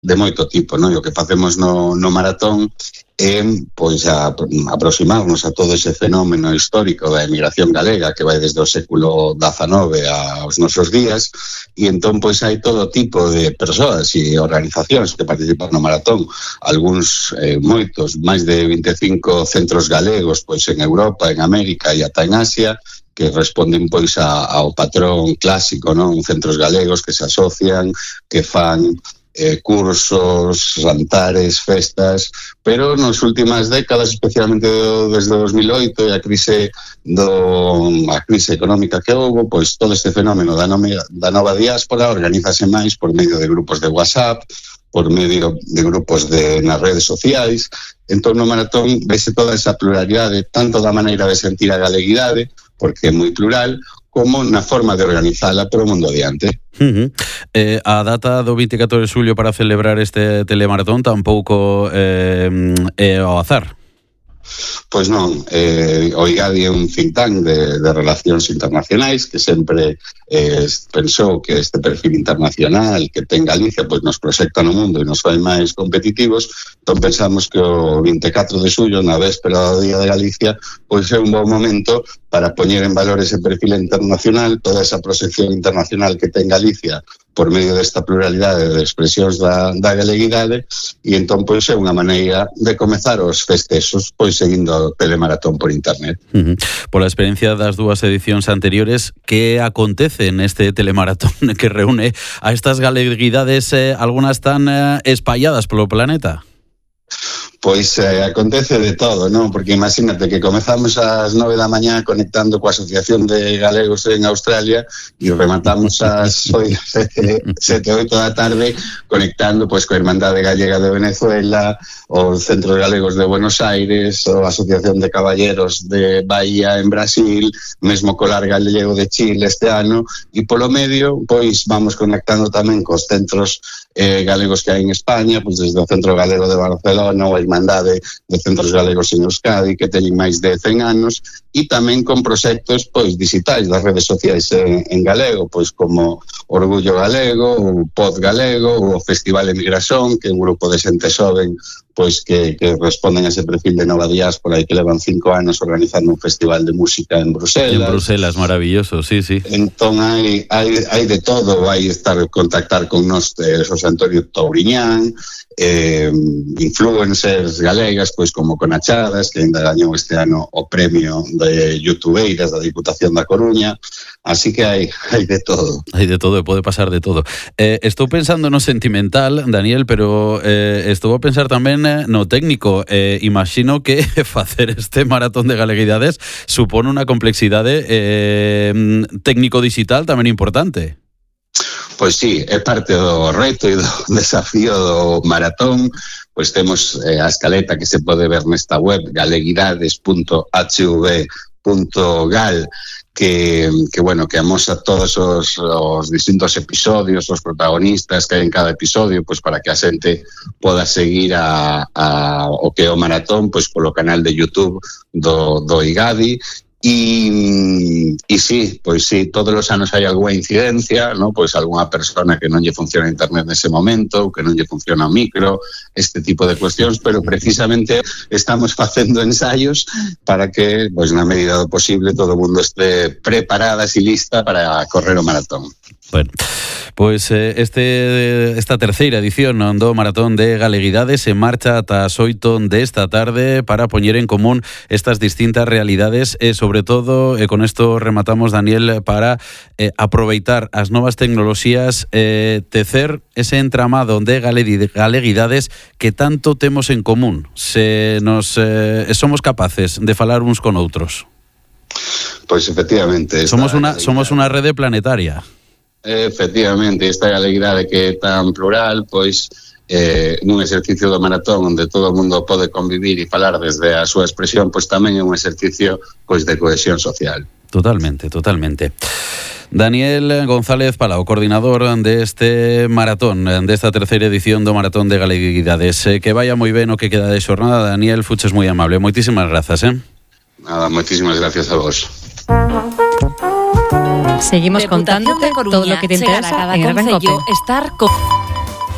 de moito tipo, non? E o que facemos no maratón é pois aproximarnos a todo ese fenómeno histórico da emigración galega que vai desde o século XIX aos nosos días, e entón pois hai todo tipo de persoas e organizacións que participan no maratón, algúns moitos, máis de 25 centros galegos pois en Europa, en América e ata en Asia, que responden pois ao patrón clásico, non? Centros galegos que se asocian, que fan cursos, jantares, festas, pero nas últimas décadas, especialmente desde 2008 e a crise económica que houve, pois todo este fenómeno da nova diáspora organízase máis por medio de grupos de WhatsApp, por medio de grupos nas redes sociais. Entón no maratón vese toda esa pluralidade, tanto da maneira de sentir a galeguidade, porque é moi plural, como na forma de organizala para o mundo adiante. A data do 24 de xulio para celebrar este telemaratón tampouco é ao azar. Pois non, o IGADI é un think tank de relacións internacionais que sempre pensou que este perfil internacional que ten Galicia pois nos proxecta no mundo e nos fai máis competitivos. Entón pensamos que o 24 de xullo, na véspera do Día de Galicia, pois é un bon momento para poñer en valor ese perfil internacional, toda esa proxección internacional que ten Galicia por medio desta pluralidade de expresións da galeguidade, e entón pois é unha maneira de comezar os festexos pois seguindo o telemaratón por internet. Pola experiencia das dúas edicións anteriores, que acontece neste telemaratón que reúne a estas galeguidades, algunhas tan espalladas polo planeta? Pois acontece de todo, non? Porque imagínate que comezamos ás 9 da mañá conectando coa Asociación de Galegos en Australia e rematamos ás 7, 8 da tarde conectando pois coa Irmandade Gallega de Venezuela, os Centros Galegos de Buenos Aires, a Asociación de Caballeros de Bahía en Brasil, mesmo Colar Galego de Chile este ano, e polo medio pois vamos conectando tamén cos centros galegos que hai en España, pois desde o Centro Galego de Barcelona ou a Irmandade de Centros Galegos en Euskadi, que teñen máis de 100 anos, e tamén con proxectos pois digitais das redes sociais en galego, pois como Orgullo Galego, o Pod Galego, o Festival Emigración, que é un grupo de xente xoven pois que responden a ese perfil de nova diáspora e que levan 5 anos organizando un festival de música en Bruselas. En Bruselas, maravilloso, sí. Entón hai de todo, vai estar contactar con nós José Antonio Touriñán, influencers galegas, pois como Conachadas, que ainda gañou este ano o premio de youtubeiras da Diputación da Coruña, así que hai de todo. Hai de todo e pode pasar de todo. Estou pensando no sentimental, Daniel, pero estou a pensar tamén no técnico. Imagino que facer este maratón de galeguidades supone unha complexidade técnico-digital tamén importante. Pois sí, é parte do reto e do desafío do maratón. Pois temos a escaleta que se pode ver nesta web galeguidades.hv.gal que amosa todos os distintos episodios, os protagonistas que hai en cada episodio, pois para que a xente poda seguir o que é o maratón pois polo canal de YouTube do IGADI. E sí, pois sí, todos os anos hai algunha incidencia, ¿no? Pois algunha persona que non lle funciona internet nese momento, que non lle funciona o micro, este tipo de cuestións, pero precisamente estamos facendo ensaios para que, pois na medida do posible, todo o mundo este preparadas e lista para correr o maratón. Bueno, pois esta terceira edición do Maratón de Galeguidades se marcha ata as 8 desta tarde para poñer en común estas distintas realidades e, sobre todo, con isto rematamos, Daniel, para aproveitar as novas tecnoloxías, tecer ese entramado de galeguidades que tanto temos en común, se nos somos capaces de falar uns con outros. Pois efectivamente. Somos unha rede planetaria. Efectivamente, esta galeguidade que é tan plural, pois nun exercicio do maratón onde todo o mundo pode convivir e falar desde a súa expresión, pois tamén é un exercicio pois de cohesión social. Totalmente. Daniel González Palau, coordinador deste maratón, desta terceira edición do Maratón de Galeguidades. Que vaya moi ben o que queda de xornada, Daniel, fuches moi amable. Moitísimas grazas, Nada, moitísimas gracias a vos. Seguimos contándote todo lo que te interesa en Gran Cope.